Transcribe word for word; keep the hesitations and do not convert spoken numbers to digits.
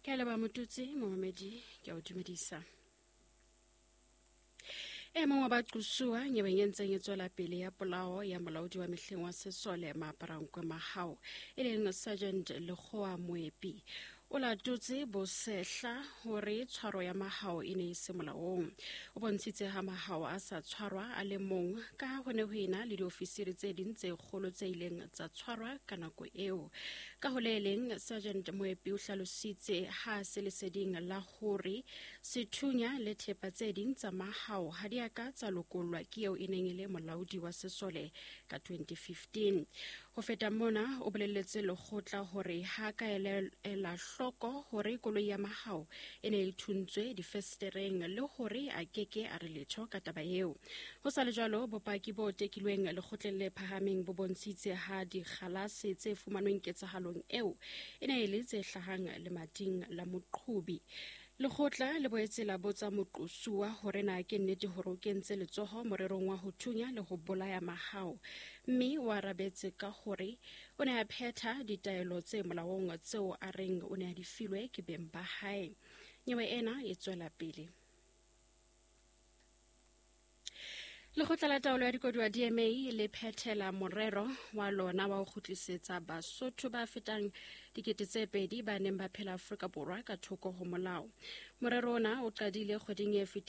Ke a leboha Motutsi, momamedi, ke a o dumedisa. E mong wa baqosuwa nyeweng e ntseng e tswela pele ya polao ya molaodi wa mehleng wa sesole Maaparankwe Mahao, e leng Sergeant Lekgowa Moepi, o latotse bosehla hore tshwaro ya Mahao e ne e se molaong. O bontshitse ha Mahao a sa tshwarwa a le mong ka ha ho ne ho ena le diofisiri tse ding tse kgolo tse ileng tsa tshwarwa ka nako eo. Ka ho le leng, Sergeant Moepi o hlalositse ha se leseding la hore sethunya le thepa tse ding tsa Mahao ha di a ka tsa lokollwa ke eo e neng e le molaodi wa sesole ka twenty fifteen. Ho feta mona, o bolelletse lekgotla hore ha ka ela hloko hore koloi ya Mahao e ne e thuntswe difesetereng le hore a keke a re letho ka taba eo. Ho sa le jwalo, bopaki bo tekilweng lekgotleng le phahameng bo bontshitse ha dikgalase tse fumanweng ketsahalong eo e ne e le tse hlahang lemating la moqhobi. Lekgotla le boetse la botsa moqosuwa hore na ke nnete hore o kentse letsoho morerong wa ho thunya le ho bolaya Mahao, mme o arabetse ka hore o ne a phetha ditaelo tse molaong tseo a reng o ne a di filwe ke beng ba hae. Nyewe ena e tswela pele. Lekgotla la taolo ya dikoduwa D M A le phethela morero wa lona wa ho kgutlisetsa Basotho ba fetang dikete tse pedi ba neng ba phela Afrika Borwa ka thoko ho molao. Morero ona o qadile kgweding e fetileng.